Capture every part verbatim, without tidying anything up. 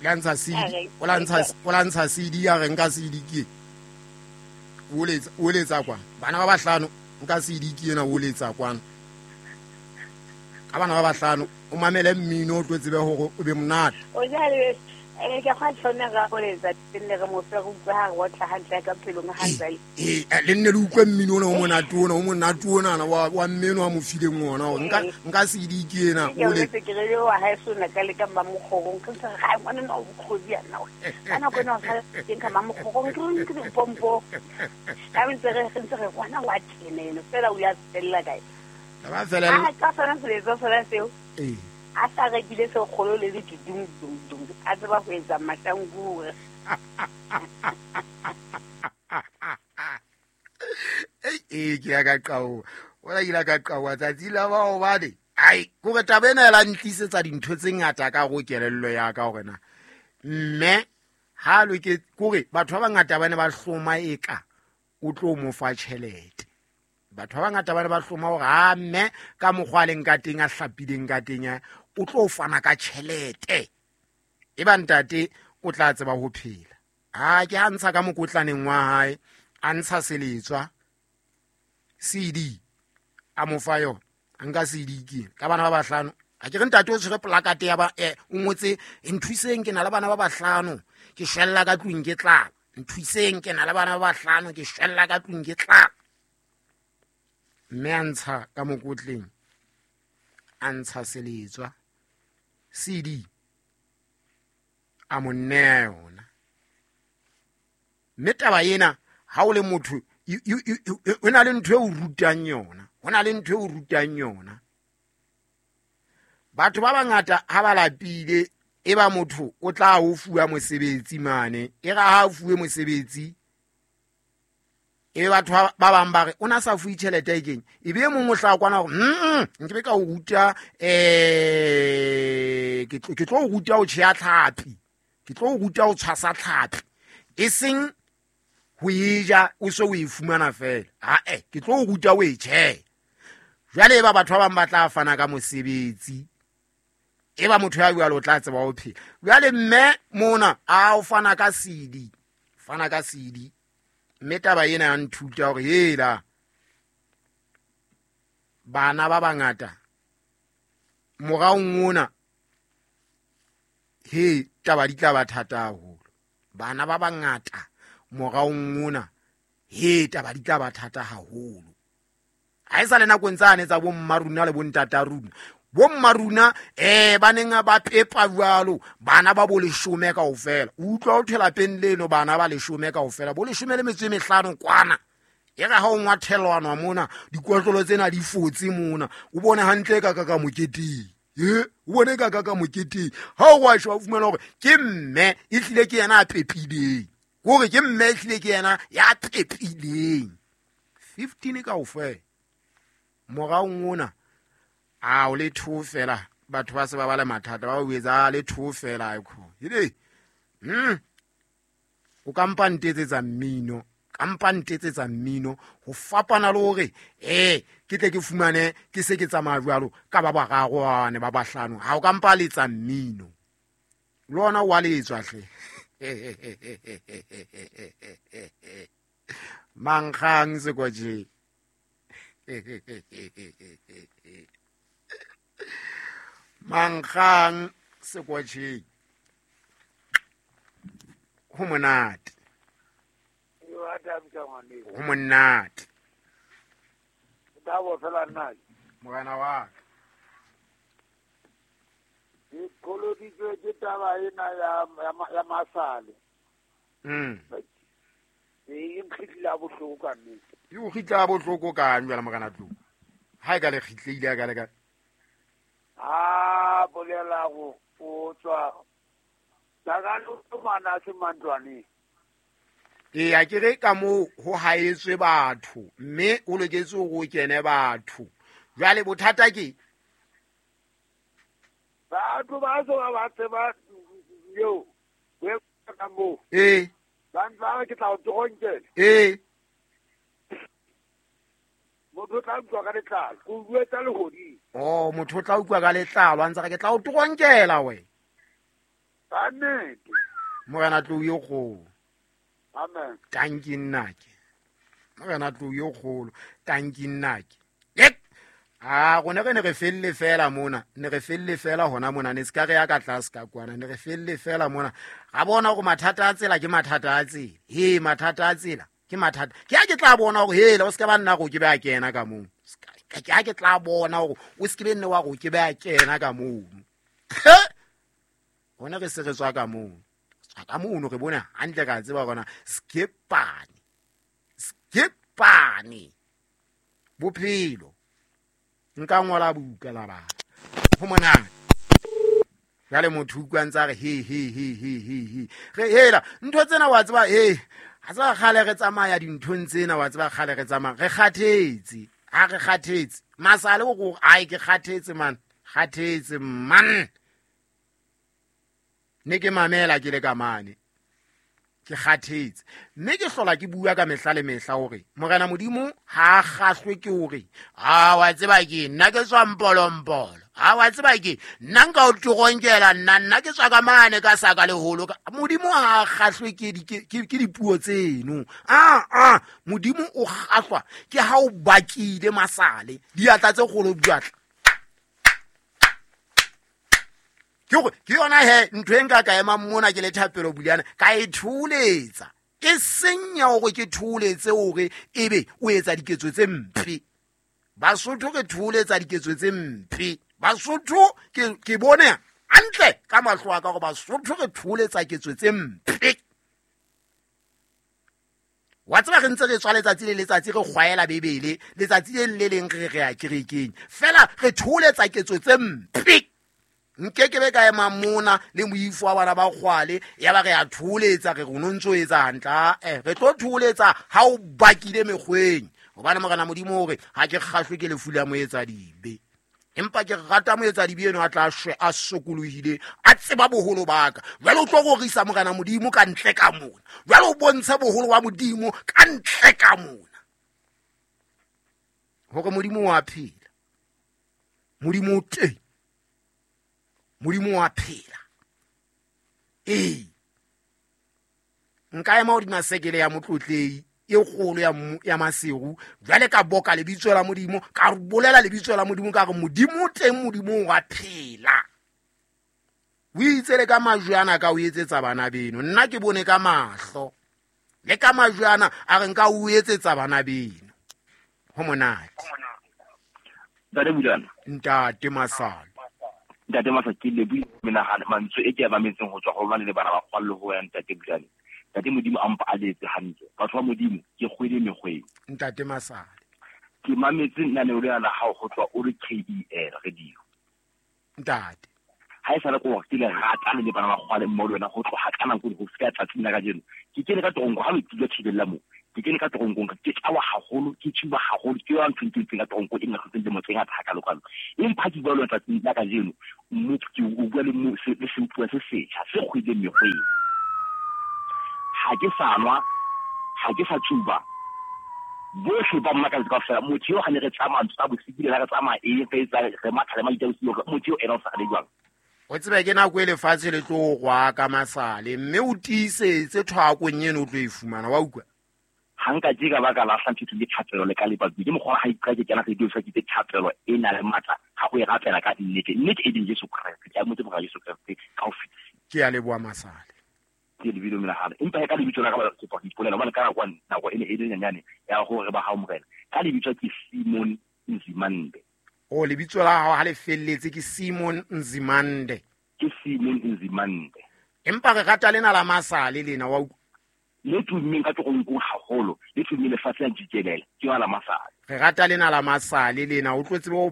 La ntsha C D, o la ntsha o la ntsha C D ya re nka C D ke. O letsa o letsa kwa. Bana ba bahlano nka C D ke ena o letsa kwana. Ka bana ba bahlano o mamele mmino o tlo tsebe hore o be monate. O jale ene ke gwa tshone ga go letsa tenne re mo fe go utlwa ha re otla hantle ka pelong ha ntse. Eh le nne le utlwe mmino ona o monate ona o monate ona wa wa mmino wa mo fileng ona hore nka nka C D ke ena o le ke re wa ha sona ka le ka mamokgorong ke se ga ngwana no bokgodi yana kana go no ga teng ka mamokgorong ke ke pompo ka ntse re ntse re ngwana wa tene eno fela o ya tsella kae ba fela a ka sona se sona seo eh a sa rekile se kgolo le le dum dum dum a tseba ho etsa mahlangure eh eh ke ya ka qao wala ile ka qao tsatsi la ba hobane ai gore taba ena la ntlisetsa dintho tse ngata ka go kelello ya ka hore na mme ha lo ke kore batho ba bangata ba ne ba hloma eka o tlo mo fa tjhelete. Batho ba bangata ba ne ba hloma hore ha mme ka mokgwa leng ka teng a hlapileng ka teng o tlo fana ka tjhelete e ba ntate o tla tseba ho phela. Ha ke a ntsha ka mokotlaneng wa hae a ntsha seletswa C D a mo fa yona a nka C D ke ka bana ba bahlano a ke re ntate o tshwere plakate ya ba eh o ngotse nthuseng ke na le bana ba bahlano ke shwella ka tlung ke tlala nthuseng ke na le bana ba bahlano ke shwella ka tlung ke tlala. Mme a ntsha ka mokotleng a ntsha seletswa C D a mo nea yona. Mme taba ena ha o le motho o na le ntho e o rutang yona ho na le ntho e o rutang yona. Batho ba bangata ha ba lapile e ba motho o tla o fuwa mosebetsi mane e ra ha o fuwe mosebetsi e batho ba bang ba re o na sa fuwe tjhelete e keng e be mong o hla kwana hore mm nke be ka o ruta eh ke ke tlo o ruta ho tjheya tlhapi ke tlo o ruta ho tshwasa tlhapi e seng ho e ja o se o e fumana fela ha eh ke tlo o ruta o e tjheya. Jwale ba batho ba bang ba tla fana ka mosebetsi e ba motho ya jwalo o tla tseba ho phela. Jwale mme mona a o fana ka C D fana ka C D mme taba ena ya nthuta hore hela bana ba bangata moraong ona he taba di tla ba thata haholo. Bana ba bangata moraong ona he taba di tla ba thata haholo. Ha e sa le nakong tsane tsa bo mmaruna le bo ntata runa bo mmaruna eh ba neng ba pepa jwalo bana ba bo leshome kaofela o utlwa o thela peng leno bana ba leshome kaofela bo leshome le metso e mehlano kwana e re ha o ngwathelwana mona dikotlolo tsena di fotse mona o bone hantle ka ka ka moketeng e o bone ka ka ka moketeng ha o wa shwa o fumana hore ke mme e hlile ke yena a pepileng hore ke mme e hlile ke yena ya pepileng fifteen kaofela moraong ona a o le two fela batho ba se ba ba le mathata ba o etsa le two fela ikho ile mm o kampa ntetsetsa mmino kampa ntetsetsa mmino ho fapana le hore eh ke tle ke fumane ke se ke tsamaya jwalo ka ba bararo ba bahlano ha o kampa letsa mmino le ona wa letswa hle mankgang sekwaje mankgang sekwatjheng ho monate ho monate morena wa ka ke koloditswe ke taba ena ya ya masale mm e nkgitla bohloko ka nnete e o kgitla bohloko ka jwale morena Tlou ha e ka le kgitleile ka le ka a bolela go o tswa tsakalo mana se mantlwane e a ke re ka mo ho haetswe batho mme o loketse go kene batho jwale bothata ke batho ba so ba tseba yo we ka mo eh ba ntla ke tla o tsonkela eh motho o tla utlwa ka letlalo o bua tsa lehodimo oh motho o tla utlwa ka letlalo a ntse re ke tla o toronkela we Ka nnete. Morena tlou yo kgolo. Amen. Tanki nnake. Morena tlou yo kgolo. Tanki nnake. Yek. A rona re ne re felle fela mona, ne re felle fela hona mona, ne ska re ya ka tlase ka kwana, ne re felle fela mona. Ga bona gore mathata a tsela ke mathata a tsela. He mathata a tsela ke mathata. Ke a ke tla bona gore hela o ska ba nna go ke ba kena ka moo. Ke a ke tla bona gore o se ke be nne wa go ke ba kena ka moo. Rona re se re tswa ka moo. Tswa ka moo re bona hantle ka tseba gona skepane. Skepane. Bophelo. Nka ngola buka la ba. Ho monate. Jwale motho utlwa ntse a re he he he he he he. Re hela ntho tsena wa tseba he. Ha tseba kgale re tsamaya dinthong tsena wa tseba kgale re tsamaya. Re kgathetse. Ha re kgathetse. Masale o go ai ke kgathetse man. Kgathetse man. Ne ke mamela ke le ka mane. Ke kgathetse. Mme ke hlola ke bua ka mehla le mehla hore Morena Modimo ha a kgahlwe ke hore a wa tseba ke nna ke tswa mpolompolo. A wa tseba ke nna nka o toronkela nna nna ke tswa ka mane ka saka leholo. Modimo ha a kgahlwe ke ke dipuo tseno. A a Modimo o kgahlwa ke ha o bakile masale diatla tse kgolo diatla. Ke gore ke yona he ntho e nka ka ema mona ke le Thapelo Buliana ka e tholetsa. E senya hore ke tholetse hore ebe o etsa diketso tse mpe. Basotho ke tholetsa diketso tse mpe. Basotho ke ke bone hantle ka mahlo a ka gore Basotho re tholetsa ketso tse mpe. Wa tseba re ntse re tswa letsatsi le letsatsi re kgwaela Bebele, letsatsi le le leng re re ya kerekeng. Fela re tholetsa ketso tse mpe. Nke ke be ka ema mona le moifo wa bana ba kgwale ya ba re a tholetsa re rona ntso etsa hantle eh re tlo tholetsa ha o bakile mekgweng hobane Morena Modimo hore ha ke kgahlwe ke lefu la moetsa dibe empa ke rata moetsa dibe eno a tla shwe a sokolohile a tseba boholo ba ka. Jwale o tlo rorisa Morena Modimo ka ntle ka mona, jwale o bontshe boholo ba Modimo ka ntle ka mona hore Modimo wa phela, Modimo o teng, Modimo wa phela. Ee. Nka ema hodima sekele ya motlotlei e kgolo ya ya Maseru jwale ka boka lebitso la Modimo ka bolela lebitso la Modimo ka re Modimo teng, Modimo wa phela. O itse le ka majwe ana ka o etsetsa bana beno, nna ke bone ka mahlo le ka majwe ana a re nka o etsetsa bana beno. Ho monate. Ntate Buliana. Ntate Masale. Ntate Masale ke le bui menahano mantswe e ke a mametseng ho tswa ho bana le bana ba kgwallo ho ya Ntate Buliana. Ntate Modimo a mpa a letse hantle. Batho ba Modimo ke kgwele mekgweng. Ntate Masale. Ke mametse lenaneo lena la hao ho tswa o re K E L radio. Ntate. Ha e sale ko ke le rata le bana ba kgwale mmo le wena ho tloha ka nako ho fihla tsatsing la kajeno. Ke kene ka toronko ha le tula thibella mo. Ke kene ka toronkong ke tlawa haholo, ke tsuba haholo, ke yona ntho e ke ka toronko e nna kgotsa dilemo tse ngata hakalo-kalo. Empa ke bua le wena tsatsing la kajeno, motho ke o bua le mo se le seutlwa se setjha se kgweleng mekgweng. Ha ke sa nwa, ha ke sa tsuba. Bohle ba mmakatsa kaofela. Motho eo ha ne re tsamaya ntho tsa bosibu le ha re tsamaya eng re etsa re matha le maitla bosiu, motho eo ena o sa le jwang. O tsebe ke nako e lefatshe le tlo rwa ka masale mme o tiisetse thwakong eno o tlo e fumana wa utlwa. Ha nka ke ka baka la hla ntho le thapelo le ka lebatsi ke mokgwa ha iqa ke kena radio sa ke thapelo e na le matla ha go e rapela ka nnete nnete e ding Jesu Kreste ke a motse boga Jesu Kreste ka ho fetisa. Ke a leboha Masale. Ke lebilo menahano empa ka lebitso la ka ba kopa go ipolela hobane ka nako nako e ne e le nyanyane ya hore ba hao Morena ka lebitso ke Simon Nzimande. O lebitso la hao ha le felletse ke Simon Nzimande. Ke Simon Nzimande. Empa re rata lena la Masale lena wa utlwa. Le tummeng ka toronkong haholo, le tummeng lefatshe la jikelele, ke wa la Masale. Re rata lena la Masale lena, o tlo tsebe ho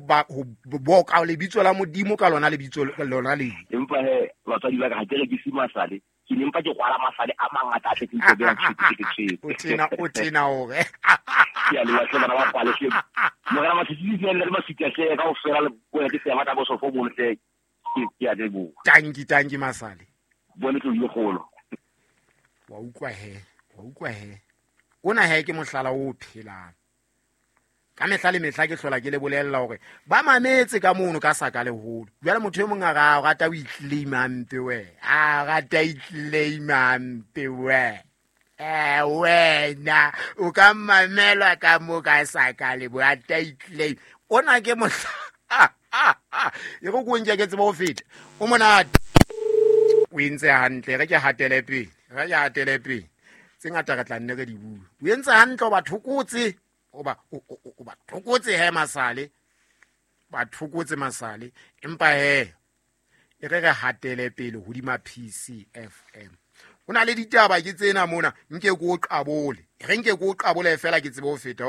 boka lebitso la Modimo ka lona lebitso lona le. Empa he batswadi ba ka ha ke rekise Masale, ke ne mpa ke kwala Masale a mangata a tletseng tsebe ya tshwete ke tshwete. O tena o tena hore. Ke a leboha hle bana ba kwale hle. Morena Masisi le le Masisi hle kaofela le bona ke seya ba bosofo mono hle. Ke ke a leboha. Tanki tanki Masale. Bone tlo le kgolo. Wa utlwa he, wa utlwa he. Ona he ke mohlala o phelang. Ka mehla le mehla ke hlola ke le bolella hore ba mametse ka mono ka saka leholo. Jwale motho e mong a ra rata o iclaima mpe we. A rata iclaima mpe we. Eh wena o ka mamela ka mo ka saka le bo rata iclaim. Ona ke mohla e go go nke ke tseba ho feta. O monate. O entse hantle re ke hatele pele. Re ke hatele pele. Tse ngata re tla nne re di bua. O entse hantle o ba thokotse. O ba o ba thokotse he masale. Ba thokotse masale. Empa he e re re hatele pele hodima P C F M. Ho na le ditaba ke tsena mona nke ke o qabole. Re nke ke o qabole fela ke tsebe ho feta.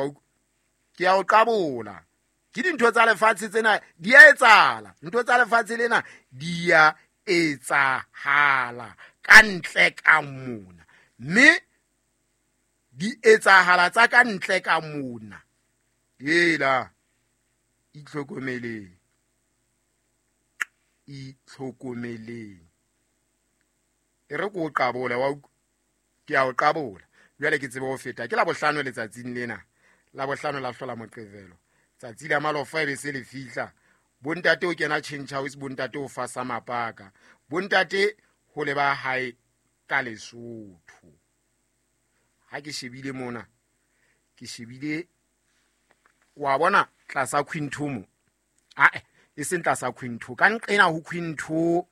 Ke ya o qabola. Ke dintho tsa lefatshe tsena di a etsahala. Ntho tsa lefatshe lena di a etsahala ka ntle ka mona. Mme di etsahala tsa ka ntle ka mona. Hela itlhokomeleng. Itlhokomeleng. E re ko qabola wa ke ya o qabola. Jwale ke tsebe ho feta. Ke la bohlano letsatsing lena. La bohlano la hlola Moqebelo. Tsatsi la malofa e be se le fihla. Bontate o kena change house, bontate o fasa mapaka. Bontate ho leba hae ka Lesotho. Ha ke shebile mona, ke shebile wa bona tlasa Quinto. Ah, e seng tlasa Quinto. Ka nqena ho Quinto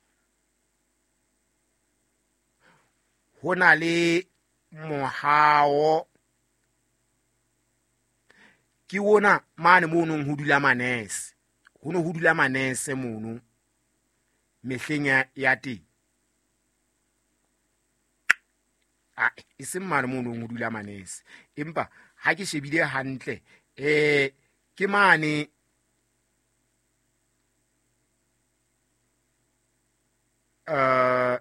ho na le mohao. Ke ona mane mono ho dula manese. Ho no ho dula manese mono mehleng ya teng. Ah, e seng mane mono ho dula manese. Empa ha ke shebile hantle eh ke mane eh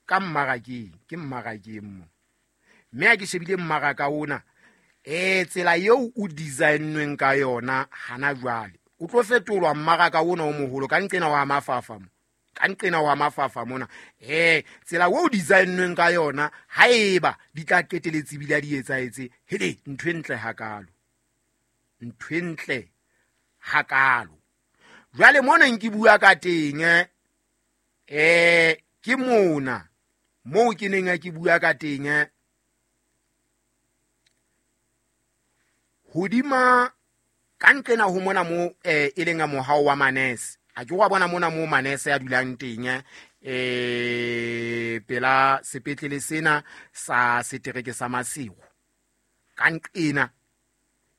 ka mmarakeng, ke mmarakeng mo. Mme ha ke shebile mmaraka ona eh tsela eo o designweng ka yona hana jwale. O tlo fetolwa mmaraka ona o moholo ka nqena wa mafafa mo. Ka nqena wa mafafa mona. Eh tsela o designweng ka yona haeba di tla qeteletse bile di etsaetse. Hele ntho e ntle hakalo. Ntho e ntle hakalo. Jwale mona nke bua ka teng eh ke mona moo ke neng ke bua ka teng hodima ka nqena ho mona mo eh e leng mohao wa manese. A ke wa bona mona mo manese a dulang teng eh pela sepetlele sena sa setereke sa Masego. Ka nqena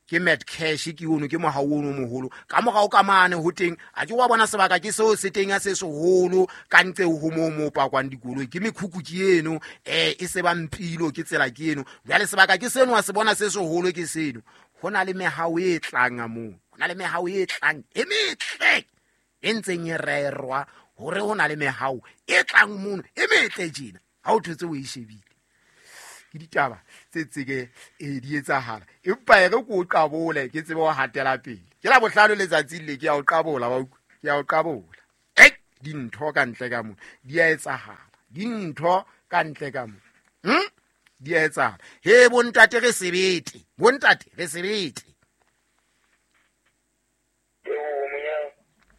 ke Mad Cash ke ono ke mohao ono moholo. Ka morao ka mane ho teng a ke wa bona sebaka ke seo se teng a se seholo ka ntse ho mo mo pakwang dikoloi ke mekhukhu ke eno eh e se ba mpilo ke tsela ke eno. Jwale sebaka ke seno a se bona se seholo ke seno. Ho na le mehao e tlang moo. Ho na le mehao e tlang e metle e ntseng e rerwa hore ho na le mehao e tlang mono e metle tjena. Ha o thotse o e shebile. Ke ditaba tse tseke e di etsahala. Empa e re ko qabole ke tsebe ho hatela pele. Ke la bohlano letsatsing le ke ya o qabola wa utlwa. Ke ya o qabola. Eh dintho ka ntle ka mona di a etsahala. Dintho ka ntle ka mona. Hm? Di a etsahala. He bontate re sebete. Bontate re sebete.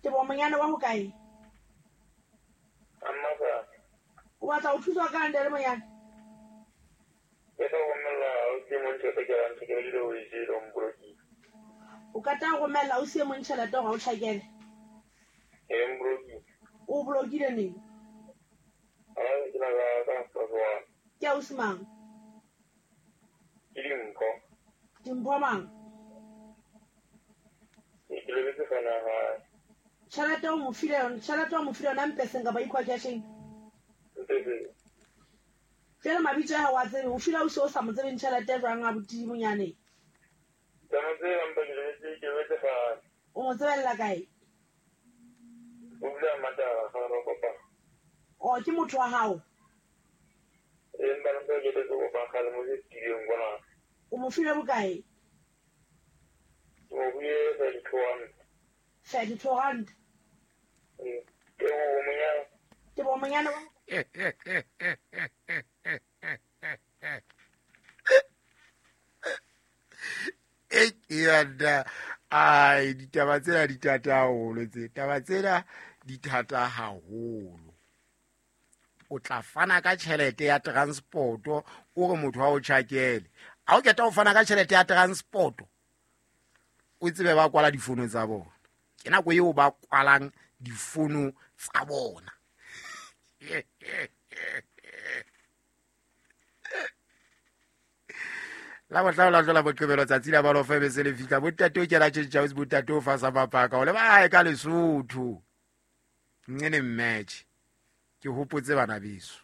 Ke bo monyane wa hokae? Amma. O batla ho thuswa ka ntle le monyane? Ke tlo romella o se mong tjhelete ke ranta ke le o e jele o mbolokile. O ka tla romella o se mong tjhelete hore o tjhakele? E mbolokile. O bolokile neng? Ah, ke la ka ka ka. Ke ausi mang? Ke Dimpho. Dimpho mang? Ke lebetse fana ha. Tjhelete o mo file yona, tjhelete o mo file yona mpeseng kapa equal casheng? Mpeseng. Jwale mabitso a hao a tsebe, o file ausi o sa mo tsebeng tjhelete jwang abuti monyane? Ke mo tseba empa ke lebetse, ke lebetse fana. O mo tsebella kae? O dula Matara, ga re kopana. O ke motho wa hao? Empa ntse ke le go ba kgale mo studio ngwana. O mo file bokae? O buile thirty-two rand. thirty-two rand. Ee, ke bo monyane. Ke bo monyane wa E ai ditaba tsena di thata haholo, tse taba tsena di thata haholo. O tla fana ka tjhelete ya transport-o o re motho wa o tjhakele. Ha o qeta ho fana ka tjhelete ya transport-o, o tsebe ba kwala difono tsa bona. Ke nako eo ba kwalang difono tsa bona. La bohlano la hlola boqebelo tsatsi la balofa be se le fihla. Bontate o kena tjhentjha o bontate o fasa mapaka o le ba hae ka Lesotho. Nqene match. Ke hopotse bana beso.